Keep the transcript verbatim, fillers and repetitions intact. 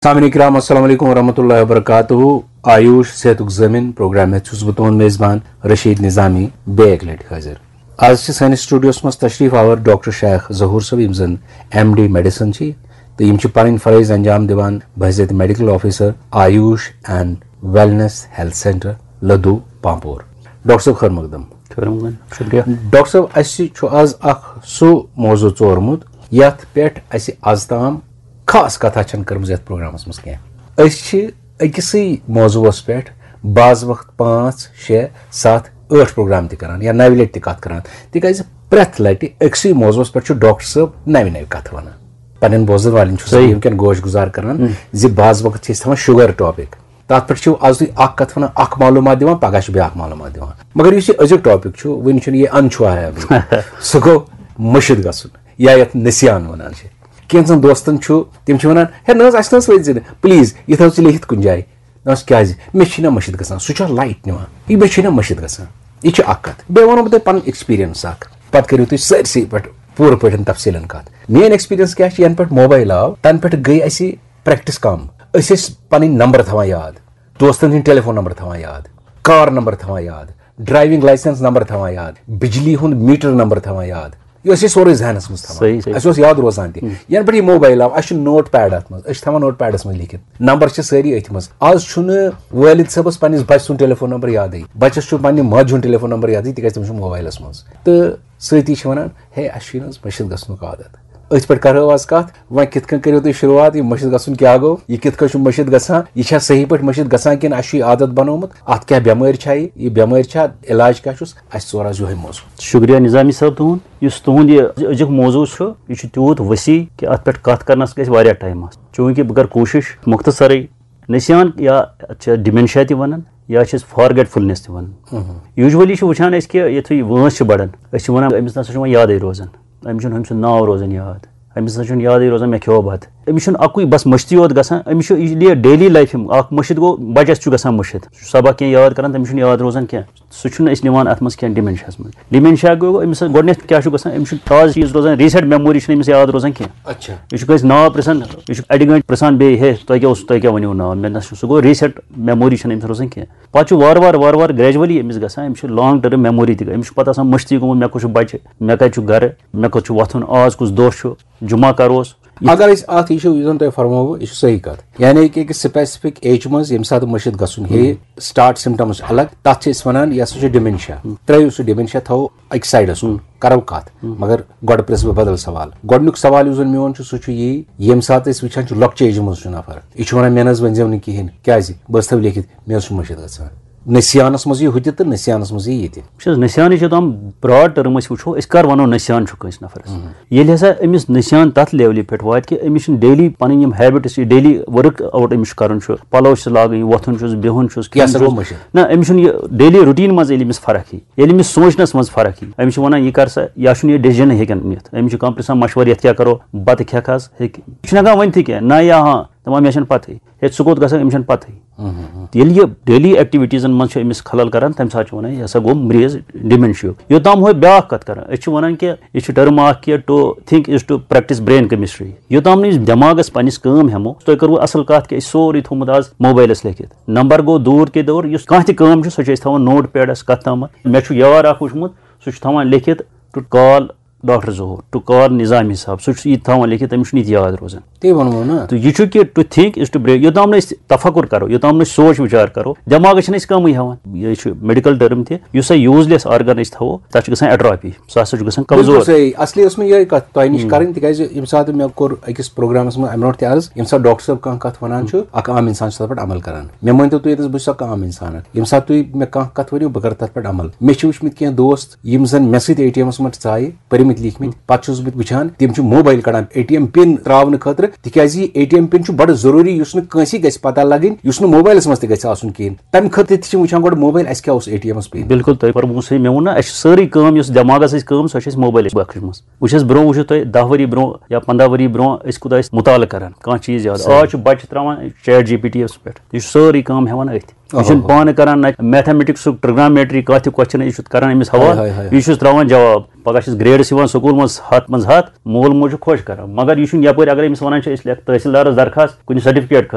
سامعین کرام، السلام علیکم ورحمۃ اللہ وبرکاتہ۔ آیوش صحتُک ضٲمِن پروگرام ہیٚتھ چھُس بہٕ تُہُنٛد میزبان رشید نظامی بیٚیہِ اکہِ لٹہِ حٲضِر۔ آز چھِ سٲنِس سٹوڈیوس منٛز تشریف آور ڈاکٹر شیخ ظہور صٲب، یِم زن ایم ڈی میڈیسن چھِ، تہٕ یِم چھِ پنٕنۍ فرٲیض انجام دِوان بحیثیت medical officer Ayush and wellness health centre Ladhoo Pampore. Doctor صٲب، خٲر مقدم۔ خٲر مقدم۔ شُکریہ۔ ڈاکٹر صٲب، اسہِ چھُ آز اکھ سُہ موضوع ژورمُت، یتھ پٮ۪ٹھ اسہِ آز تام خاص کتھا چھنہٕ کٔرمٕژ یتھ پروگرامس منٛز کینٛہہ۔ أسۍ چھِ أکسٕے موضوعس پٮ۪ٹھ بعض وقت پانٛژھ، شےٚ، ستھ، ٲٹھ پروگرام تہِ کران یا نوِ لٹہِ تہِ کتھ کران، تِکیازِ پرٛٮ۪تھ لٹہِ أکسٕے موضوعس پٮ۪ٹھ چھُ ڈاکٹر صٲب نوِ نوِ کتھٕ ونان۔ پننٮ۪ن بوزن والٮ۪ن چھُس بہٕ صحیح۔ وٕنکٮ۪ن گوش گُزار کران زِ بعض وقت چھِ أسۍ تھاوان شُگر ٹاپک، تتھ پٮ۪ٹھ چھِو آز تُہۍ اکھ کتھ ونان، اکھ معلوٗمات دِوان، پگاہ چھِ بیٛاکھ معلوٗمات دِوان۔ مگر یُس یہِ أزیُک ٹاپک چھُ، وٕنہِ چھُنہٕ یہِ اَندٕ چھُ آیا۔ سُہ گوٚو مٔشِد گژھُن، یا یتھ نسیان ونان چھِ۔ کینٛژن دوستن چھُ، تِم چھِ ونان، "ہے نہ حظ، اسہِ نہ حظ ؤنۍ زِ نہٕ، پلیز، یہِ تھاو ژٕ لیکھِتھ کُنہِ جایہِ۔" نہ حظ، کیازِ؟ مےٚ چھِ نہ مٔشِد گژھان، سُہ چھُ لایٹ نِوان، یہِ مےٚ چھِ نہ مٔشِد گژھان۔ یہِ چھِ اکھ کتھ۔ بیٚیہِ ونو بہٕ تۄہہِ پنٕنۍ ایکسپیرینس اکھ، پتہٕ کٔرِو تُہۍ سٲرسٕے پٮ۪ٹھ پوٗرٕ پٲٹھۍ تفصیٖلن کتھ۔ میٲنۍ ایکسپیرینس کیٛاہ چھِ؟ ینہٕ پٮ۪ٹھ موبایل آو، تنہٕ پٮ۪ٹھ گٔے اسہِ پریکٹس کم۔ أسۍ ٲسۍ پنٕنۍ نمبر تھاوان یاد، دوستن ہٕنٛدۍ ٹیلی فون نمبر تھاوان یاد، کار نمبر تھاوان یاد، ڈرائیونگ لائسنس نمبر تھاوان یاد، بجلی ہُنٛد میٹر نمبر تھاوان یاد۔ یہِ اوس یہِ سورُے ذہنس منٛز تھاوان۔ صحیح، صحیح۔ اسہِ اوس یاد روزان تہِ۔ ینہٕ پٮ۪ٹھ یہِ موبایل آو، اسہِ چھُ نوٹ پیڈ اتھ منٛز، أسۍ چھِ تھاوان نوٹ پیڈس منٛز لیکھِتھ۔ نمبر چھِ سٲری أتھۍ منٛز۔ آز چھُنہٕ والد صٲبس پننِس بچہٕ سُنٛد ٹیلی فون نمبر یادٕے، بچس چھُ پننہِ ماجہِ ہُنٛد ٹیلی فون نمبر یادٕے، تِکیازِ تٔمِس چھُ موبایلس منٛز۔ تہٕ سۭتی چھِ ونان، "ہے، اسہِ چھُے نہٕ حظ مٔشِد گژھنُک عادت؟" أتھۍ پٮ۪ٹھ کرو آز کتھ، وۄنۍ کِتھ کٔنۍ کٔرِو تُہۍ شروٗعات، یہِ مٔشِد گژھُن کیٛاہ گوٚو، یہِ کِتھ کٔنۍ چھُ مٔشِد گژھان، یہِ چھا صحیح پٲٹھۍ مٔشِد گژھان کِنہٕ اسہِ چھُ یہِ عادت بنومُت، اتھ کیٛاہ بٮ۪مٲرۍ چھا یہِ، یہِ بٮ۪مٲرۍ چھا، علاج کیٛاہ چھُس، اسہِ ژور آز یِہوٚے موضوع۔ شُکریہ نظامی صٲب تُہُنٛد۔ یُس تُہُنٛد یہِ أزیُک موضوع چھُ، یہِ چھُ تیوٗت وسیع کہِ اتھ پٮ۪ٹھ کتھ کرنس گژھِ واریاہ ٹایم آسُن۔ چوٗنٛکہِ بہٕ کرٕ کوٗشش مختصرٕے، نسیان یا اتھ چھِ ڈیمینشیا تہِ ونان، یا چھِ أسۍ فارگیٹ فُلنس تہِ ونان۔ یوٗجولی چھِ وٕچھان أسۍ کہِ یُتھُے وٲنٛس چھِ بڑان، أسۍ چھِ ونان، "أمِس نہ سا چھُ وۄنۍ یادٕے روزان، أمِس چھُنہٕ أمۍ سُنٛد ناو روزان یاد، أمِس نہ چھُنہٕ یادٕے روزان مےٚ کھیوٚو بتہٕ۔" أمِس چھُنہٕ اکُے بس مٔشتٕے یوت گژھان، أمِس چھُ یہِ ڈیلی لایفہِ منٛز اکھ مٔشِد گوٚو، بچس چھُ گژھان مٔشِد، سُہ چھُ سبق کینٛہہ یاد کران، تٔمِس چھُنہٕ یاد روزان کینٛہہ۔ سُہ چھُنہٕ أسۍ نِوان اَتھ منٛز کینٛہہ ڈِمینشیاہَس منٛز۔ ڈِمینشیا گوٚو أمِس گۄڈٕنٮ۪تھ کیٛاہ چھُ گژھان؟ أمِس چھُنہٕ تازٕ چیٖز روزان، ریٖسٮ۪نٛٹ میموری چھِنہٕ أمِس یاد روزان کینٛہہ۔ اچھا۔ یہِ چھُ کٲنٛسہِ ناو پرٛژھان، یہِ چھُ اَڑِ گٲنٛٹہِ پرٛژھان بیٚیہِ، "ہے، تۄہہِ کیٛاہ اوس، تۄہہِ کیٛاہ ؤنِو ناو؟" مےٚ نہ سا سُہ گوٚو ریٖسٮ۪نٛٹ میموری چھَنہٕ أمِس روزان کینٛہہ۔ پَتہٕ چھُ وارٕ وارٕ، وارٕ وارٕ گریجولی أمِس گژھان، أمِس چھُ لانٛگ ٹٔرٕم میموری تہِ، أمِس چھُ پَتہٕ آسان مٔشتٕے گوٚمُت، مےٚ کُس چھُ بَچہِ، مےٚ کَتہِ چھُ گَرٕ، مےٚ کوٚت چھُ وۄتھُن، آز کُس دۄہ چھُ، جمعہ کَر اوس۔ اگر أسۍ اتھ، یہِ چھُ، یُس زن تۄہہِ فرمووُ، یہِ چھُ صحیح کتھ۔ یعنی کہِ أکِس سپیسفک ایج منٛز ییٚمہِ ساتہٕ مٔشِد گژھُن ہیٚیہِ، سٹارٹ سمٹمز چھِ الگ، تتھ چھِ أسۍ ونان، یہِ ہسا چھُ ڈیمینشیا۔ ترٲیِو سُہ ڈیمینشیا، تھاوو أکۍ سایڈس کُن، کرو کتھ۔ مگر گۄڈٕ پرژھٕ بہٕ بدل سوال۔ گۄڈٕنیُک سوال یُس زن میون چھُ، سُہ چھُ یی، ییٚمہِ ساتہٕ أسۍ وٕچھان چھِ، لۄکچہِ ایجہِ منٛز چھُ نفر، یہِ چھُ ونان، "مےٚ نہ حظ ؤنۍزیو نہٕ کِہینۍ، کیازِ؟ بہٕ حظ تھاوٕ لیکھِتھ، مےٚ حظ چھُ مٔشِد گژھان۔" نسیانس منٛز یی ہُتہِ تہٕ نسیانس منٛز یی ییٚتہِ۔ وٕچھ حظ، نسیانٕچ یوٚتام براڈ ٹٔرم أسۍ وٕچھو، أسۍ کر ونو نسیان چھُ کٲنٛسہِ نفرس؟ ییٚلہِ ہسا أمِس نسیان تتھ لیولہِ پٮ۪ٹھ واتہِ کہِ أمِس چھُنہٕ ڈیلی پنٕنۍ یِم ہیبٹس، یہِ ڈیلی ورک آوُٹ أمِس چھُ کرُن چھُ، پلو چھِ لاگٕنۍ، وۄتھُن چھُس، بِہُن چھُس، یہِ کھیوٚن ہسا گوٚو چھُس۔ مٔشِد۔ نہ، أمِس چھُنہٕ یہِ ڈیلی روٹین منٛز ییٚلہِ أمِس فرق یی، ییٚلہِ أمِس سونٛچنس منٛز فرق یی، أمِس چھِ ونان، یہِ کر سا، یا چھُنہٕ یہِ ڈیسیجن ہیٚکان نِتھ، أمِس چھُ کانٛہہ پرژھان مشورٕ، یتھ کیٛاہ کرو، بتہٕ کھٮ۪کھ حظ، ہیٚکہِ، یہِ چھُنہٕ ہٮ۪کان ؤنتھٕے کینٛہہ، نہ یا ہاں، دپان، مےٚ چھَنہٕ پتہٕے۔ ہے، ژٕ کوٚت گژھکھ، أمِس چھَنہٕ پتہٕے۔ ییٚلہِ یہِ ڈیلی ایکٹیویٹیٖزن منٛز چھُ أمِس خلل کران، تَمہِ ساتہٕ چھِ وَنان، یہِ ہسا گوٚو مریض ڈیمینشیُک۔ یوٚتام ہُہ بیٛاکھ کَتھ کران، أسۍ چھِ وَنان کہِ یہِ چھُ ٹٔرٕم اکھ کہِ to think is to practice brain chemistry۔ یوٚتام نہٕ أسۍ دٮ۪ماغس پننِس کٲم ہٮ۪مو، تۄہہِ کٔروٕ اَصٕل کَتھ کہِ أسۍ چھِ سورُے تھوٚومُت آز موبایلَس لیکھِتھ۔ نمبر گوٚو دوٗر کے دور، یُس کانٛہہ تہِ کٲم چھِ، سۄ چھِ أسۍ تھاوان نوٹ پیڈَس کَتھ تامَتھ۔ مےٚ چھُ یار اکھ وٕچھمُت، سُہ چھُ تھاوان لیکھِتھ to call ڈاکٹر ظہور، to call نظامی صٲب، سُہ چھُ یہِ تھاوان لیکھِتھ، تٔمِس چھُنہٕ یہِ تہِ یاد روزان۔ تی ووٚنمو نا۔ تہٕ یہِ چھُ کہِ to think is to brain، یوٚتام نہٕ أسۍ تفکر کرو، یوٚتام نہٕ أسۍ سوچ وِچار کرو، دٮ۪ماغس چھِنہٕ أسۍ کٲمٕے ہٮ۪وان۔ یہِ چھُ میڈیکل ٹٔرم تہِ، یُس سا یوٗزلیس آرگن أسۍ تھاوو، تَتھ چھُ گژھان ایٹراپی، سُہ ہسا چھُ گژھان کمزور۔ بِلکُل صحیح۔ اصلی ٲس مےٚ یِہے کتھ تۄہہِ نِش کرٕنۍ، تِکیازِ ییٚمہِ ساتہٕ مےٚ کوٚر أکِس پروگرامس منٛز امہِ برونٛٹھ تہِ عرض، ییٚمہِ ساتہٕ ڈاکٹر صٲب کانٛہہ کتھ ونان چھُ، اکھ عام انسان چھُ تتھ پٮ۪ٹھ عمل کران۔ مےٚ مٲنۍتو تُہۍ ییٚتٮ۪س، بہٕ چھُس اکھ عام انسان۔ ییٚمہِ ساتہٕ تُہۍ مےٚ کانٛہہ کتھ ؤنِو، بہٕ کرٕ تتھ پٮ۪ٹھ عمل۔ مےٚ چھِ وٕچھمٕتۍ کینٛہہ دوست، یِم زن مےٚ سۭتۍ اے ٹی ایمس منٛز ژایہِ، پٔرمٕتۍ لیٖکھمٕتۍ، پتہٕ چھُس بہٕ وٕچھان، تِم چھِ موبایل کڑان اے ٹی ایم پِن تراونہٕ خٲطرٕ، تِکیازِ یہِ اے ٹی ایم پِن چھُ بڑٕ ضروٗری، یُس نہٕ کٲنٛسی گژھِ پتہ لگٕنۍ، یُس نہٕ موبایلس منٛز تہِ گژھِ آسُن کِہینۍ۔ تَمہِ خٲطرٕ تہِ چھِ وٕچھان گۄڈٕ موبایل، اَسہِ کیٛاہ اوس اے ٹی ایمس پِن۔ بِلکُل، تۄہہِ فرموو صحیح۔ مےٚ ووٚن نا، اَسہِ چھِ سٲرٕے کٲم، یۄس دٮ۪ماغس اَسہِ کٲم، سۄ چھِ اَسہِ موبایلس بخشس منٛز۔ وٕچھ حظ، برونٛہہ وٕچھِو تُہۍ، دَہ ؤری برونٛہہ یا پنٛداہ ؤری برونٛہہ أسۍ کوٗتاہ ٲسۍ مُطالعہٕ کران، کانٛہہ چیٖز یاد۔ صحیح۔ آز چھُ بچہٕ تراوان چیٹ جی پی ٹی یس پٮ۪ٹھ، یہِ چھُ سٲرٕے کٲم ہٮ۪وان أتھۍ۔ یہِ چھُنہٕ پانہٕ کران، نہ میتھمیٹکسُک، ٹرگنومیٹری، کانٛہہ تہِ کوسچن، یہِ چھُ کران أمِس حوالہٕ، ہاے، ہاے، ہاے۔ یہِ چھُس تراوان جواب۔ پگاہ چھِس گریڈس یِوان سکوٗل منٛز ہَتھ منٛز ہَتھ، مول موج چھُ خۄش کران، مگر یہِ چھُنہٕ یپٲرۍ اگر أمِس ونان چھِ أسۍ لیکھ تحصیلدارس درخواست کُنہِ سرٹیفکیٹ خٲطرٕ۔